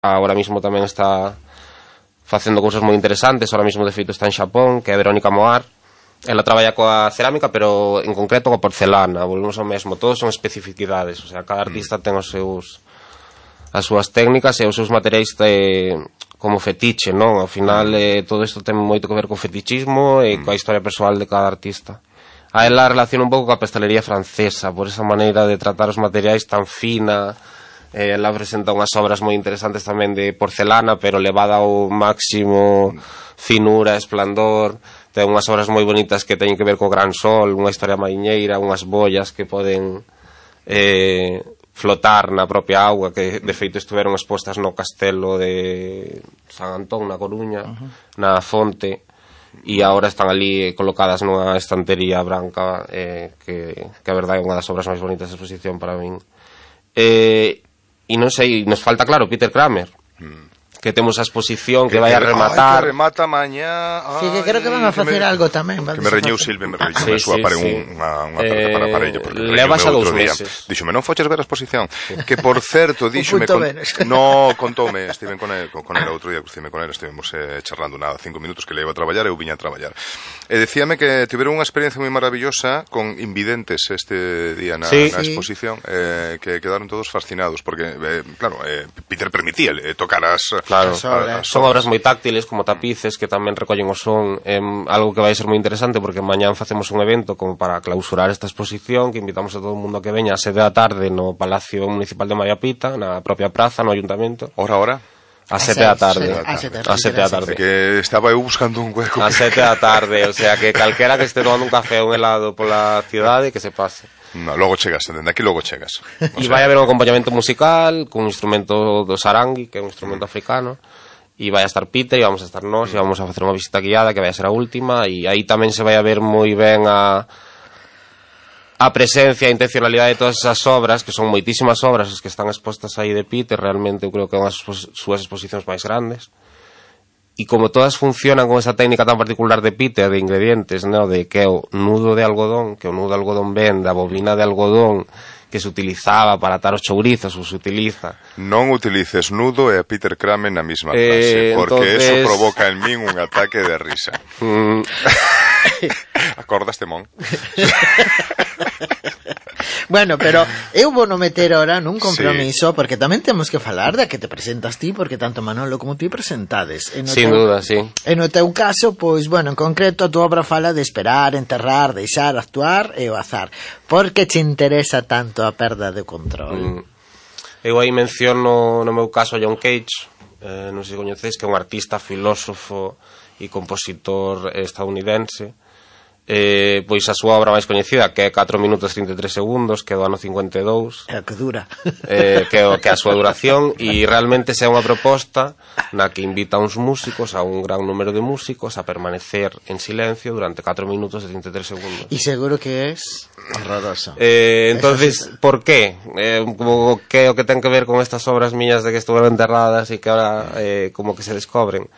ahora mismo tamén está facendo cousas moi interesantes. Ahora mismo de feito está en Xapón, que é Verónica Moar. Ela traballa coa cerámica, pero en concreto coa porcelana. Volvemos ao mesmo, todos son especificidades, o sea, cada artista ten as súas técnicas e os seus materiais como fetiche, non? Ao final todo isto ten moito que ver co fetichismo e coa historia persoal de cada artista. A ela relaciona un pouco coa pastelería francesa, por esa maneira de tratar os materiais tan fina. Ela presenta unhas obras moi interesantes tamén de porcelana, pero levada ao máximo finura, esplandor. Ten unhas obras moi bonitas que teñen que ver co gran sol, unha historia mariñeira, unhas bollas que poden flotar na propia auga, que de feito estiveron expostas no castelo de San Antón, na Coruña, na fonte, e agora están ali colocadas nunha estantería branca, que a verdade é unha das obras máis bonitas da exposición para min. E non sei, nos falta claro Peter Kramer, que temos a exposición que vai a rematar. Que remata mañá. Sí, que creo que van a facer algo tamén. Que me reñeu Silve, me súa para unha parella. Leva xa 2 meses. Díxome, non foches ver a exposición? Que, por certo, díxome... No, contoume, estiven con el outro día, crucime con el, estivemos charlando 5 minutos que le iba a traballar e eu viña a traballar. E decíame que tiveron unha experiencia moi maravillosa con invidentes este día na exposición, que quedaron todos fascinados, porque, claro, Peter permitía tocar Claro, son obras moi táctiles, como tapices, que tamén recollen o son. Algo que vai ser moi interesante, porque mañán facemos un evento como para clausurar esta exposición, que invitamos a todo o mundo que veña a 7 da tarde no Palacio Municipal de Mariapita, na propia praza, no Ayuntamento. Hora? A 7 da tarde. A 7 da tarde. Que estaba eu buscando un hueco. A 7 da tarde, o sea, que calquera que este tomando un café ou un helado pola cidade, que se pase. No, logo chegas, dende aquí logo chegas. E vai haber un acompañamento musical cun instrumento do sarangui, que é un instrumento africano, e vai a estar Peter e vamos a estar nós, e vamos a facer unha visita guiada que vai a ser a última, e aí tamén se vai a ver moi ben a presencia e a intencionalidade de todas esas obras, que son moitísimas obras as que están expostas aí de Peter. Realmente eu creo que é unha das súas exposicións máis grandes. E como todas funcionan con esa técnica tan particular de Peter, de ingredientes, ¿no? De que é o nudo de algodón, que o nudo de algodón ven da bobina de algodón que se utilizaba para atar os chourizos, ou se utiliza. Non utilices nudo e a Peter Kramer na mesma frase, porque eso provoca en min un ataque de risa. Acordaste, mon? Bueno, pero eu vou no meter ahora nun compromiso, porque tamén temos que falar da que te presentas ti, porque tanto Manolo como ti presentades. Sin duda, sí. E no teu caso, pois, bueno, en concreto a tua obra fala de esperar, enterrar, deixar, actuar e o azar. Por que te interesa tanto a perda de control? Eu aí menciono no meu caso a John Cage, non sei se coñecedes, que é un artista, filósofo e compositor estadounidense. Pois a súa obra máis coñecida, que é 4 minutos 33 segundos, que é do ano 52, que dura, que é a súa duración, e realmente é unha proposta na que invita a uns músicos, a un gran número de músicos, a permanecer en silencio durante 4 minutos e 33 segundos. E seguro que es horroroso. Entonces, por qué? Como que o que ten que ver con estas obras miñas de que estuveron enterradas e que ahora como que se descobren?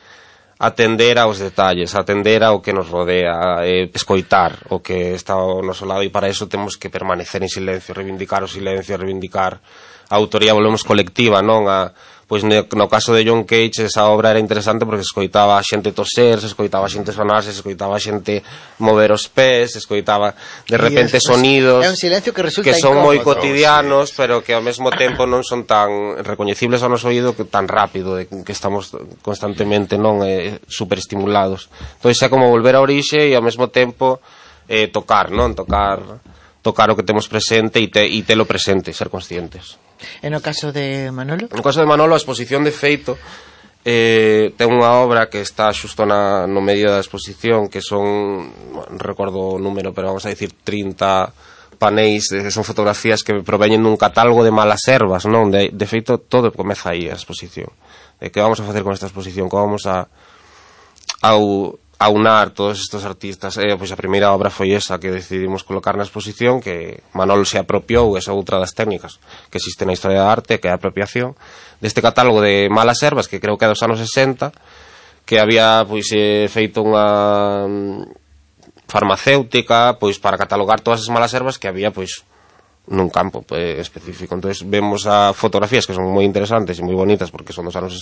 Atender aos detalles, atender ao que nos rodea, escoitar o que está ao noso lado, e para iso temos que permanecer en silencio, reivindicar o silencio, reivindicar a autoría, volvemos colectiva, non? Pois no caso de John Cage esa obra era interesante porque se escoitaba a xente toser, se escoitaba a xente sonarse, se escoitaba a xente mover os pés, se escoitaba de repente sonidos que son moi cotidianos, pero que ao mesmo tempo non son tan recoñecibles ao noso oído, que tan rápido, que estamos constantemente superestimulados. Entón é como volver á orixe e ao mesmo tempo tocar, non? Tocar o que temos presente e telo presente, ser conscientes. E no caso de Manolo? No caso de Manolo, a exposición de feito ten unha obra que está xusto no medio da exposición, que son, non recordo o número, pero vamos a dicir 30 panéis, que son fotografías que proveñen dun catálogo de malas ervas, non? De feito, todo comeza aí a exposición. Que vamos a facer con esta exposición? Que vamos a aunar todos estes artistas. Pois a primeira obra foi esa que decidimos colocar na exposición, que Manolo se apropiou, esa outra das técnicas que existe na historia da arte, que é a apropiación deste catálogo de malas ervas, que creo que é dos anos 60, que había pois feito unha farmacéutica pois para catalogar todas as malas ervas que había pois nun campo específico. Entonces vemos a fotografías que son moi interesantes e moi bonitas porque son dos anos